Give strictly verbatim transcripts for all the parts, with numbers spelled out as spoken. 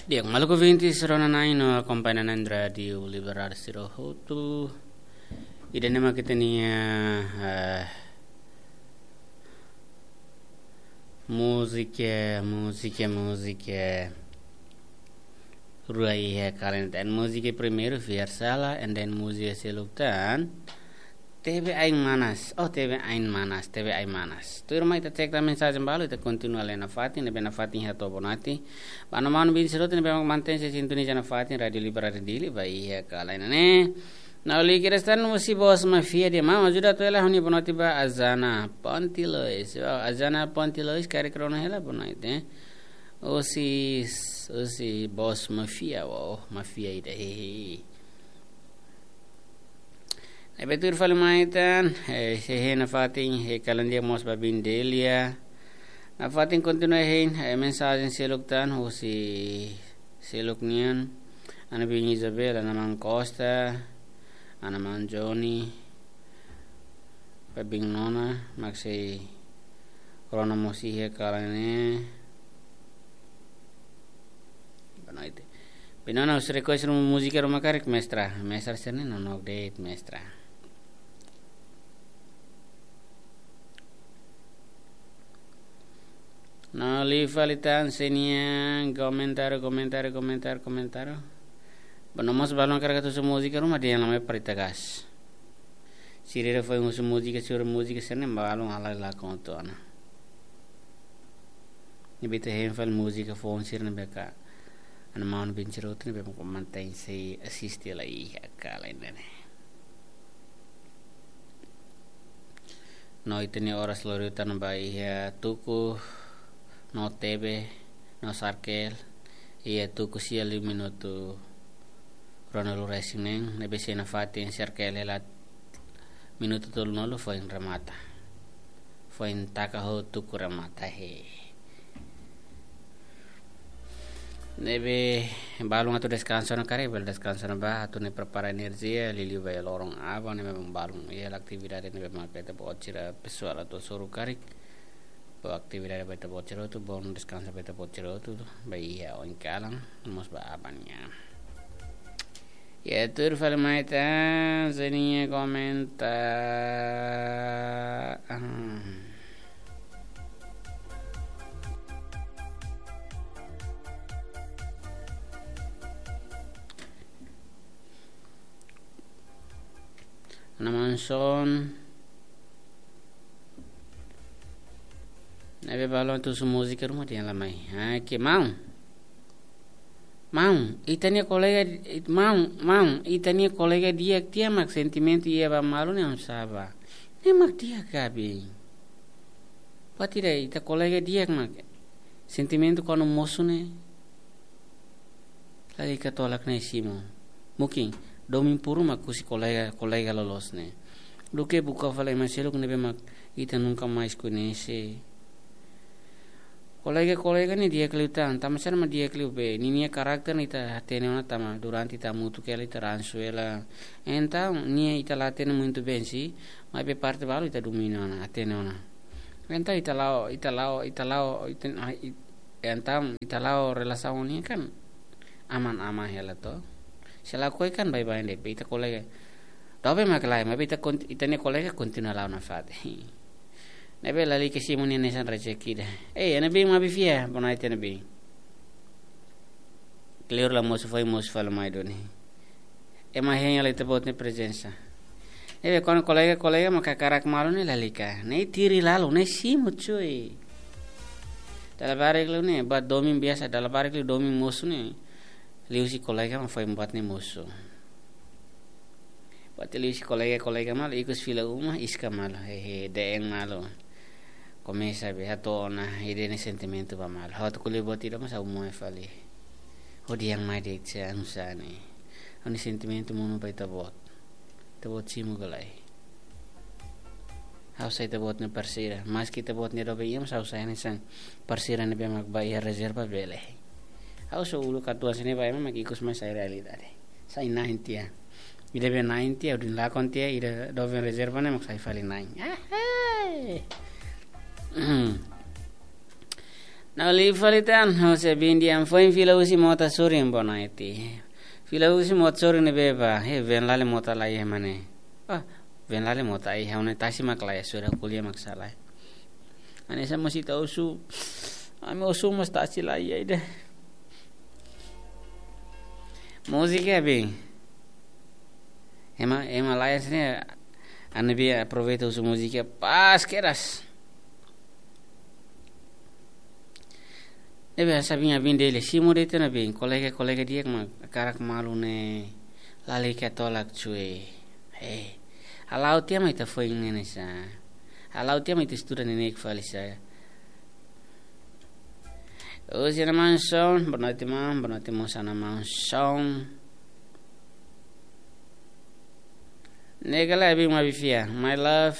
Di'ak, maluk ouvintes rona-na'in no akompaña na'in Rádiu Liberal sira hotu. Ida-ne'e mak ita-nia, eh, múzika, múzika, múzika rua iha kala ne'e. Múzika primeiru, Fiar Sala, and then múzika seluk tan, Tebe Ain Manas. Oh, Tebe Ain Manas, Tebe Ain Manas. Tuirmai ita cek tan mensajen balu, ita kontinua lee nafatin, ne'ebé nafatin hato'o Bonati. Ba maun-alin bin sira hotu ne'ebé mantein sei sintoniza nafatin Rádiu Liberal Dili ba iha kala ne'e. Nauli kira stan musi bos mafia dia, maun ajuda atu hela ha'u-nia Bonati ba Azana Pontilois. Wow, Azana Pontilois, karik rona hela Bonati, eh. Husi, husi bos mafia, wow, mafia ida, hehe. Ne'ebé tuir fali mai tan, eh, sei hein nafatin, eh, kalan dia mós ba bin Delia. Nafatin kontinua hein, eh, mensajen seluk tan, husi seluk nian, Ana Bin Isabel, Ana Maun Costa, Ana Maun Johnny, ba bin Nona, mak sei rona mós iha kala ne'e. Boa noite. Bin Nona, husu request ruma múzika ruma karik, mestra. Mestra sira-ne'e nonook de'it, mestra. No, liu fali tan sira-nia komentáriu, komentáriu, komentáriu, komentáriu. Ba no mós balun karik atu husu múzika ruma dehan la mai para ita gas. Sira-ne'ebé foin husu múzika, sira múzika sira-ne'e balun halai lakon hotu ona. Ne'ebé ita hein fali múzika foun sira-ne'ebé ka. Ana maun bin sira hotu ne'ebé mak mantein sei asiste la iha kala ne'e. No ita-nia oras lori tan ba iha tuku, no Tebe, no Sarkel, iha tuku sia liu minutu ruanulu-resin-neen, ne'ebé sei nafatin Sarkel hela minutu tolunulu foin remata. Foin taka ho tuku remata, he. Ne'ebé balun atu deskansa ona karik, bele deskansa ona ba, atu nune'e prepara enerjia, liuliu ba iha loron aban, ne'ebé balun iha atividade ne'ebé mak ita-boot sira pesoál atu hasoru karik. Ba atividade ba ita-boot sira hotu, bom deskansa ba ita-boot sira hotu, ba iha oin kalan, mós ba aban nian. Ya, tuir fali mai tan, sira-nia komentáriu. Ah. Ana Manson. Ne'ebé balun atu husu múzika ruma dehan la mai. Ah, ke maun. Maun, ita-nia kolega, it-, maun, maun, ita-nia kolega di'ak tiha mak sentimentu iha ba malu ne'e oinsá ba. Ne'e mak di'ak ka be. Buat ida ita kolega di'ak mak sentimentu kuandu mosu ne'e. Lalika tolak ne'e simu. Mungkin domin puru mak husi kolega, kolega loloos ne'e. Duké buka fali ema seluk ne'ebé mak ita nunka mais koñese. Kolega-kolega ne'e di'ak liután, tanba sá mak di'ak liu be, ninia karakter ne'e ita hatene ona tanba durante ita hamutuk hela ita ransu hela. Entaun, nia ita la hatene muito bem, si, maibé parte balu ita domina ona, hatene ona. Entaun ita la'o, ita la'o, ita la'o, ita, ah, it-, entaun ita la'o relasaun ne'e kan aman-aman hela to. Se lakohi kan baibain de'it, ita kolega. Doben mak lae, maibé ita kont-, ita-nia kolega kontinua la'o nafatin. Ne'ebé lalika simu nia hanesan rejeki ida. Eh, Ana Bin, maun bin fiar, boa noite Ana Bin. Kleur la mosu, foin mosu fali mai duni. Ema hein hela ita-boot nia prezensa. Ne'ebé kuandu kolega-kolega mak hakarak malu ne'e lalika. Ne'e tiri lalu, ne'e simu cuy. Dala barak liu ne'e, buat domin biasa, dala barak liu domin mosu ne'e. Liuhusi kolega mak foin buat ne'e mosu. Buat liuhusi kolega-kolega malu, ikus fila uma, iska malu, hehe, de'eng malu. Komesa be hato'o ona ida-ne'e sentimentu ba malu. Ha'u atu ko'alia buat ida mós ha'u moe fali. Hodi yang mai de'it se anu sá ne'e. Ha'u-nia sentimentu monu ba ita-boot. Ita-boot simu ka lae. Ha'u sai ita-boot nia parseira. Maski ita-boot nia doben iha, mas ha'u sai hanesan parseira ne'ebé mak ba iha rezerva bele. Ha'u só uluk katuas ne'e ba ema mak ikus mai sai realidade. Sai na'in tiha. Ida be na'in tiha, udin lakon tiha, ida doben rezerva ne'e mak sai fali na'in. Ahai. Não, li fali tan, ha'u sei bin di'ak, foin fila husi mota sorin bonaiti. Fila husi mota sorin ne'ebé ba, he, veen lali mota laiha mane. Ah, veen lali mota ai, ha'u-nia tasi mak laiha, sura ko'alia mak sala. Hanesan mós ita husu, ami husu mós tasi laiha ida. Múzika bin. Ema, ema laiha sini, ami bin aproveita husu múzika pas kedas. Ne'ebé hanesan bin, ami bin Dili, simu de'it ona bin, kolega, kolega di'ak mak hakarak malu ne'e, lalika tolak cue. He. Hala'o tiha mak ita foin ne'e sa. Hala'o tiha mak ita estuda neineik fali sa. Husi Ana Manson, boa noite, maun, boa noite, mós Ana Manson. Ne'e ka lae, bin maibé fiar. My love,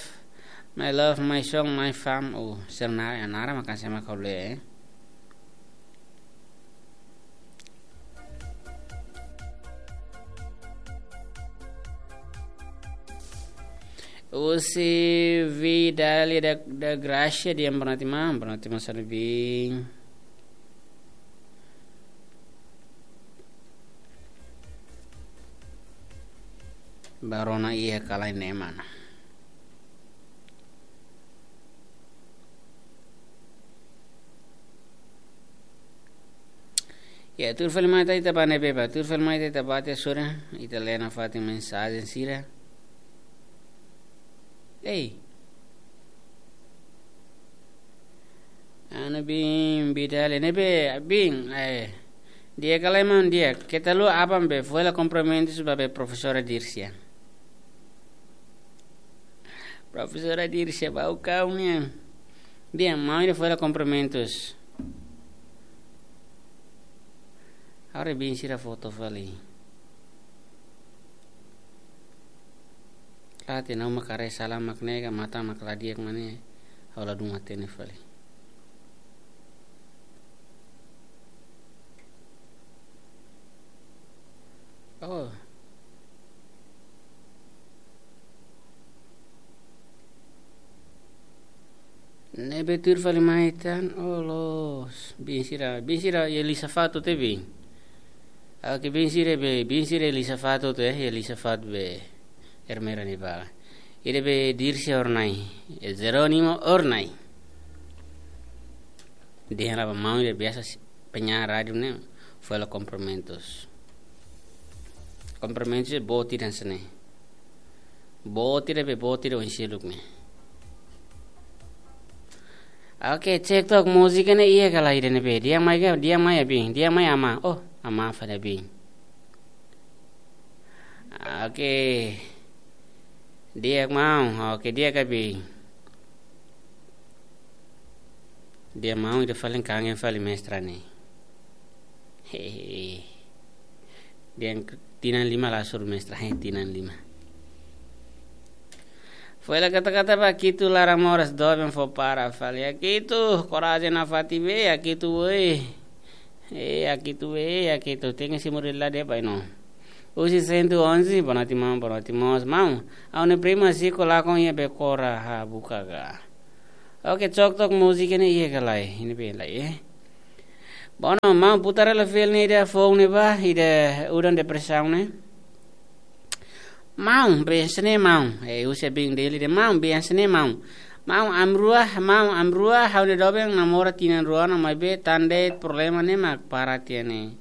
my love, my song, my fam. Oh, sira-nia naran mak hanesan mak ha'u lee, eh. Husi Vidalia da, da Gracia, di'ak, boa noite, maun, boa noite, mós Ana bin. Barona iha ka lae ne'e mana. Ya, tuir fali mai ita, ita ba ne'ebé ba, tuir fali mai ita, ita ba tiha sura, ita lee nafatin mensajen sira. Ei. Ana bin, Vidalia, ne'ebé, bin, eh, di'ak ka lae maun di'ak, keta haluha aban be, fó hela kumprimentus ba be profesora Dircia. Profesora Dircia, ba o kau nian. Di'ak, maun ida fó hela kumprimentus. Haree bin sira foto fali. Late nau mak haree sala mak ne'e ka matan mak la di'ak mane, ha'u ladún hatene fali. Oh. Ne'ebé tuir fali mai tan, oh loos. Bin sira, bin sira iha Lisafat hotu te bin. Oke, bin sira be, bin sira iha Lisafat hotu, eh, iha Lisafat be. Ermera ni bala. Ida be Dircia Ornai, eh, Jerónimo Ornai. Dehan ba maun ida biasa si-, penyiar rádiu ne'e, fó hela kumprimentus. Kumprimentus boot ida hanesan ne'e. Boot ida be, boot ida oin seluk ne'e. Oke, cek tok múzika ne'e iha ka lae ida ne'ebé. Di'ak mai ka, di'ak mai abin, di'ak mai amá. Oh, amá fali abin. Oke. Di'ak maun, oke, di'ak abin. Di'ak maun, ita fali kangen fali mestra ne'e. Hehe. Di'ak tinan lima la hasoru mestra, he, tinan lima. Fó hela kata-kata ba Akitu laran moras doben fó para fali. Akitu, korajen nafatin be, Akitu, woi. Eh, Akitu, eh, Akitu, tenke simu rilade bai no. Husi cento e onze, boa noite, maun, boa noite, mós, maun. Ha'u-nia prima siko lakon iha Becora, ha, buka ga. Oke, cok tok múzika ne'e iha ka lae, ne'ebé lae, eh. Bom, maun, putar hela fali ne'e ida foun ne'e ba, ida udan depresaun ne'e. Maun, bin hanesan ne'e maun. Eh, husi bin Dili dehan maun, bin hanesan ne'e maun. Maun, ami rua, maun, ami rua, ha'u-nia doben namora tinan rua ona maibé tan de'it problema ne'e mak para tiha ne'e.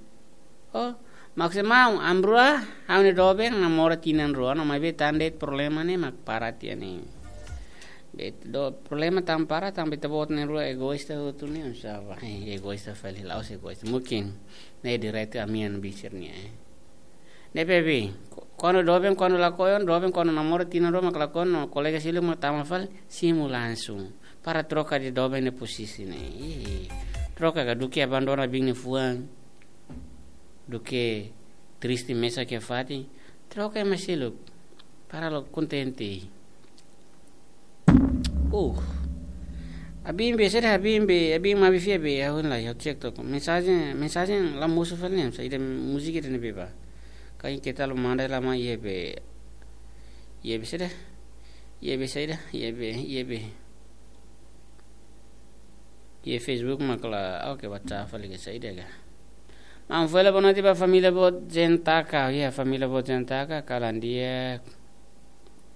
Oh, maksud maun, ami rua, ha'u-nia doben namora tinan rua ona maibé tan de'it problema ne'e mak para tiha ne'e. Be ita-boot problema tan para, tanba ita-boot na'in-rua egoísta hotu ne'e, oinsá ba? Eh, egoísta fali, la'ós egoísta. Mungkin ne'e direitu ami-nia bisir ne'e, eh. Ne'ebé bin, ko-, kuandu doben, kuandu lakohi ona, doben kuandu namora tinan rua mak lakohi ona, no kolega seluk mak tama fali, simu langsung. Para troka de doben nia posisi ne'e. Ih, troka ka duké abandona bin nia fuan. Duké triste mesak iha fatin. Troka ema seluk. Para la'o kontente. Uh. Abin be, saida abin be, abin maibé fiar be, ha'u la, ha'u cek tok. Mensajen, mensajen la mosu fali ne'e, saida múzika ida ne'ebé ba. Karik keta lo manda la mai iha be. Iha be saida. Iha be saida, iha be, iha be. iha Facebook mak la, oke, WhatsApp fali ke saida ka. Maun Foila, boa noite ba família boot Zentaka. Iha família boot Zentaka, kalan di'ak.